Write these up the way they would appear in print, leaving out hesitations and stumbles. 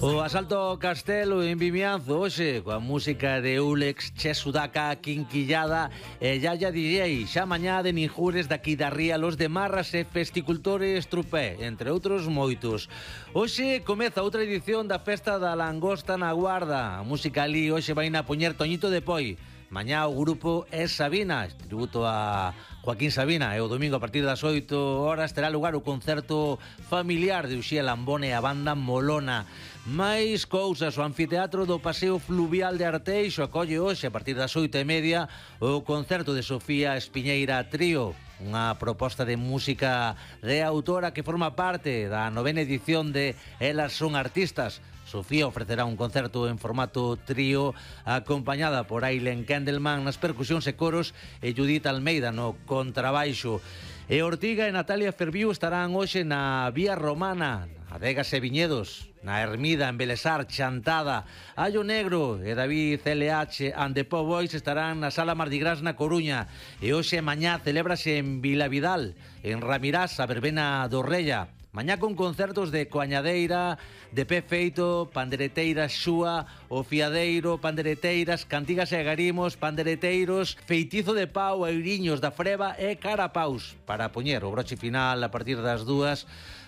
O asalto ao castelo en Vimianzo hoxe coa música de Ulex, Che Sudaka, Quinquillada e Yaya DJ. Xa mañá de Ninjures daqui da Ría, Los de Marras e Festicultores Trupé, entre outros moitos. Hoxe comeza outra edición da Festa da Langosta na Guarda. A música ali hoxe vai na poñer Toñito de Poi. Mañá o grupo é Sabina, tributo a Joaquín Sabina, e o domingo a partir das 8 horas terá lugar o concerto familiar de Uxía Lambone e a banda Molona. Mais cousas, o anfiteatro do Paseo Fluvial de Arteixo acolle hoxe a partir das 8:30 o concerto de Sofía Espiñeira Trío, unha proposta de música de autora que forma parte da 9ª edición de Elas son artistas. Sofía ofrecerá un concerto en formato trío acompañada por Ailen Kendelman nas percusións e coros e Judith Almeida no contrabaixo. E Ortiga e Natalia Ferviu estarán hoxe na Vía Romana, Adegas e Viñedos, na Ermida, en Belesar, Chantada. Allo Negro e David LH and the Po Boys estarán na Sala Mardi Gras na Coruña. E hoxe e mañá celébrase en Vilavidal, en Ramirás, a verbena do Rella. Mañá con concertos de Coañadeira, de Pé Feito, Pandereteiras Xúa, O Fiadeiro, Pandereteiras, Cantigas e Agarimos, Pandereteiros, Feitizo de Pau, Eiriños da Freba e Carapaus. Para poñer o broche final a partir das 2,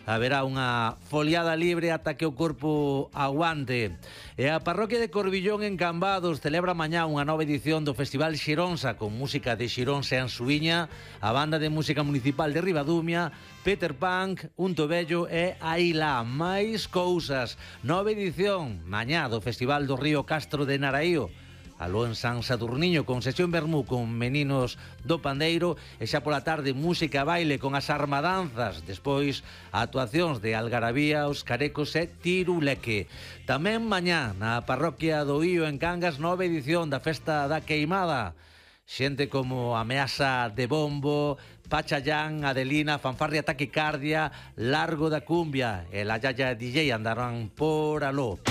haberá unha foliada libre ata que o corpo aguante. E a parroquia de Corbillón en Cambados celebra mañá unha nova edición do Festival Xironsa con música de Xironsa e Ansuíña, a banda de música municipal de Ribadumia, Peter Punk, Unto Bello e Aila. Máis cousas, nova edición mañá do Festival do Río Castro de Naraío. Aló en San Saturniño con sesión vermú con meninos do pandeiro e xa pola tarde música e baile con as armadanzas, despois actuacións de Algarabía, Os Carecos e Tiruleque. Tamén mañá na parroquia do Ío en Cangas, nova edición da Festa da Queimada. Xente como Ameaza de Bombo, Pachayán, Adelina, Fanfarria Taquicardia, Largo da Cumbia e la Yaya DJ andarán por aló.